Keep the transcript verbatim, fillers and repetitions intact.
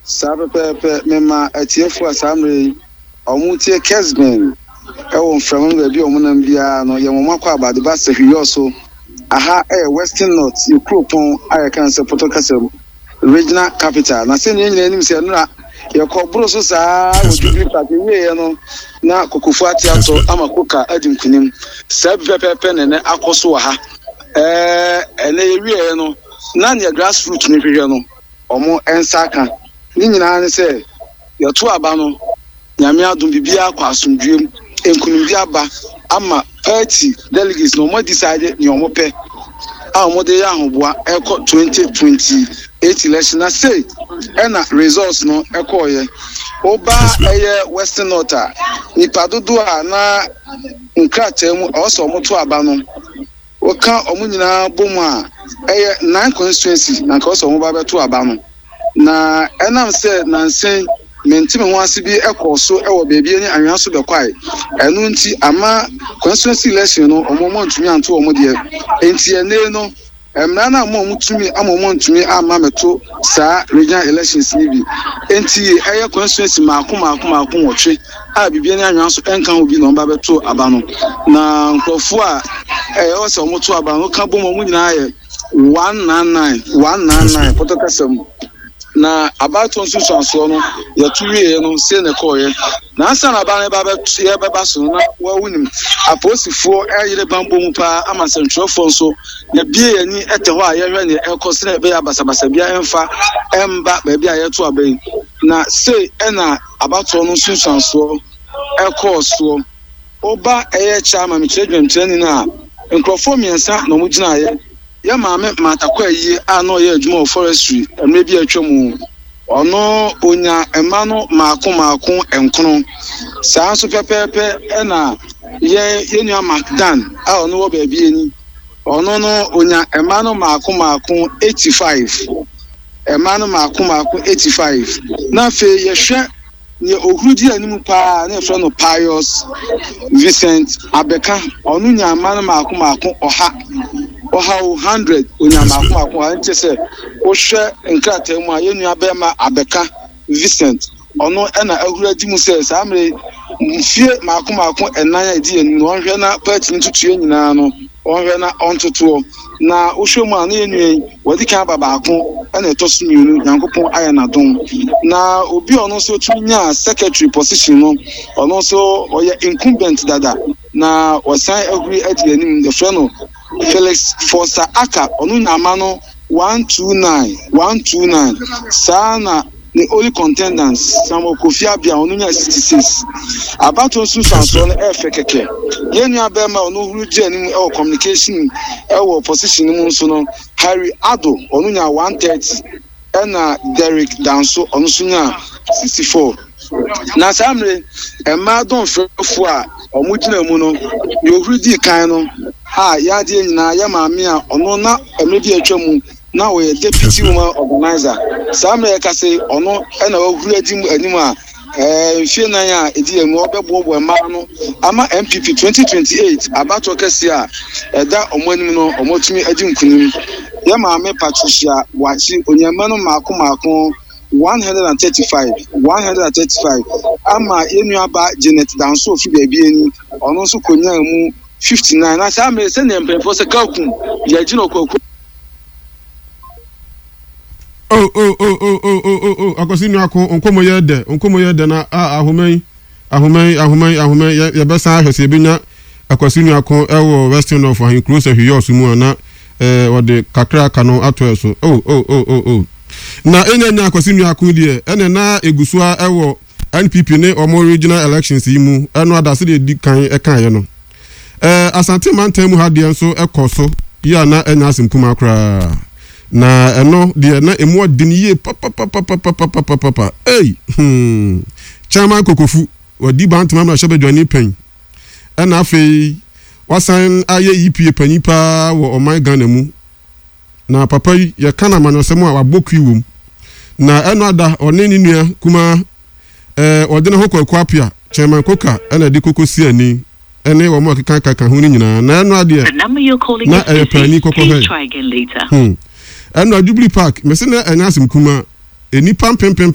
Saa pɛpɛɛpɛ. Mema atiefo a saa mmerɛ yi ɔmo tie Kesben ɛwɔ mframa mu, baabi a ɔmo nam biara no, yɛn wɔn akɔ abade ba sɛ hwiyɔ so. Aha ɛyɛ Western North yɛ kuropɔn a yɛka no sɛ Pɔtɔ kasa mu regional capital. Na sɛnea yɛn nyinaa anim sɛ nnora yɛkɔ boro so saa wɔ Jubilee Park ewieɛ no, na kokofo ate atɔ ama koka adi nkunim. Saa bi pɛpɛɛpɛ na ɛnɛ akɔ so wɔ ha. ɛɛ ɛnɛ yɛwieɛ no, na nea grassroot no hwehwɛ no, ɔmo nsa aka ne nyinaa ne sɛ yɛto aba no, Nyame adom, biribiara kɔ asomdwoe mu, nkonimdi aba ama party delegates na ɔmo decide nea ɔmo pɛ a ɔmo de yɛ ahoboa ɛkɔ twenty twenty-eight election. Na sei ɛna results no ɛkɔɔyɛ. Ɔba ɛyɛ Western North a, nipa dodoɔ a na nkrataa mu ɛwɔ sɛ ɔmo to aba no, wɔka ɔmo nyinaa bɔ mu a, ɛyɛ nine constituency na nka ɔsɛ ɔmo ba bɛto aba no. Na ɛnam sɛ nansen mente me ho ase bi ɛkɔɔ so ɛwɔ beebi ne anwea so bɛkwae, ɛno nti ama constituency election no, ɔmo ɔmo ntumi anto ɔmo deɛ. Nti ɛnɛ no, mmara no ama ɔmo tumi ama ɔmo ntumi ama mɛto saa regional elections ni bi. Nti ɛyɛ constituency mako mako mako nwɔtwe a biribi ne anwea so ɛnka ho bi na ɔmo ba bɛto aba no. Na nkurɔfoɔ a ɛyɛ sɛ ɔmo to aba no ka bom, ɔmo nyinaa yɛ one nine nine, one nine nine pɔtɔ kasa mu. Na abatoɔ nsusuansoɔ no, yɛto wieɛ no, sei na ɛkɔɔyɛ. Na ansa na aba no ba bɛto yɛbɛba so no, na wɔawo nim apolisifoɔ ɛyere bambɔ mu paa ama nsɛntwerɛfoɔ nso yɛbie yɛn ani ɛtɛ hɔ a yɛhwɛ neɛ ɛkɔ sɛnea ɛbɛyɛ basabasa bia ɛmfa ɛmba baabi a yɛto aba yi. Na sei ɛna abatoɔ no nsunsuansoɔ ɛkɔɔ soɔ. Ɔba ɛyɛ chairman, mekyerɛ dwamkyerɛni no a, nkurɔfoɔ mmiɛnsa na wɔn gyinaeɛ. Yɛ maame Matakɔ Ayie a na ɔyɛ adwuma wɔ forestry mmerɛ bi a atwa mu, ɔno onya mma no maako maako nkono. Saa nso pɛpɛɛpɛ ɛna yɛn yɛn nua Macdan a ɔno wɔ baabi ani, ɔno no onya mma no maako maako eighty five, mma no maako maako eighty five. Na afei yɛhwɛ nea ohuru di anim paa na yɛfrɛ no Pius Vincent Abɛka, ɔno nya mma no maako maako ɔha ɔha o, hundred, onya maako maako ɔha. Nti sɛ wohwɛ nkrataa mu a, yɛn nua bɛrima Abɛka Vincent, ɔno ɛna ahuru adi mu sɛ saa mmerɛ mfie maako maako ɛnan a ɛdi anim no, ɔnhwɛ na party no tutuo nyinaa no, ɔnhwɛ na ɔntotoɔ. Na wohwɛ mu a, ne yɛn nua yi wɔde kan aba baako, ɛna ɛtɔ so mmienu, Nyankopɔn ayɛ n'adom. Na obi a ɔno nso tumi nyaa secretary position no, ɔno nso ɔyɛ incumbent dada na ɔsan ahuri adi anim, yɛfrɛ no Felix Forsa Aka, ɔno nya ama no one two nine, one two nine. Saa na ne only contendants, Samuel Kofi Abia, ɔno nya sixty six. Abatoɔ nsunsuansoɔ no ɛɛfɛ kɛkɛ. Yɛn nua bɛrima a ɔno huru di anim ɛwɔ communication ɛwɔ position no mu nso no, Harry Ado, ɔno nya one thirty, ɛna Derek Danso, ɔno nso nya sixty four. Na saa mmerɛ mmaa dɔnfrɛfoɔ a wɔn gyina mu no, deɛ ohuru di kan no a yɛadeɛ nyinaa, yɛ maame a ɔno na mmerɛ bi atwa mu na ɔyɛ deputy woman organizer, saa mmerɛ yɛka sɛ ɔno ɛna wahuru adi mu anim a ɛɛ mfie nan a ɛdi yɛn mu ɔbɛboaboa mmaa no ama N P P twenty twenty-eight abatoɔ kɛseɛ a ɛda wɔn anim no, wɔn atumi adi nkunim. Yɛ maame Patricia Boakye, onyama no mmaako mmaako one hundred and thirty-five, one hundred and thirty-five, ama yɛn nua Janet Danso ofi baabi ani, ɔno nso konyaa mu fifty-nine. Na saa mmerɛ, sɛnea mpanyinfoɔ sɛ kalkum yɛgyina ɔkɔkɔ Oh oh oh oh oh oh oh oh, Akwasi Nuako, nkɔmɔ yɛ dɛ, nkɔmɔ yɛ dɛ. Na a ahoma yi, ahoma yi, ahoma yi, ahoma yi, yɛbɛsan ahwɛ sɛ yɛbɛnya Akwasi Nuako ɛwɔ Western North ahenkuro sɛ hwiyɔs mu a, na ɛɛ wɔde kakra aka no ato ɛ so. Oh oh oh oh oh, na enya nya Akwasi Nuako deɛ, ɛna na egu so a ɛwɔ N P P ne wɔn regional elections yi mu. Ɛno adase deɛ edi kan ɛkaeɛ no, ɛɛ Asante mantam mu ha deɛ nso ɛkɔ so yi a, na ɛnya asɛm kumaa koraa. Na ɛno deɛ, na emu ɔden yie papapapapapapapa. Ei, hmm, Chairman Kokofu wadi Bantama mmarahyɛ badwani pɛn, ɛna afei wasan ayɛ E P A panyin paa wɔ ɔman Ghana mu. Na papa yi, yɛka no amanyɔsɛm a, wabɔ kui wɔ mu. Na ɛno ada ɔne ne nua kumaa ɛɛ ɔde ne ho kɔ Akuapia, Chairman Koka, ɛna ɛde koko si ani ɛne wɔn a keka kaka ho no nyinaa. Na ɛno adeɛ na ɛyɛ paani kɔkɔ hɛ hmm ɛno Jubilee Park mɛsɛ na ɛnyɛ asɛm kuma, nipa mpempempem.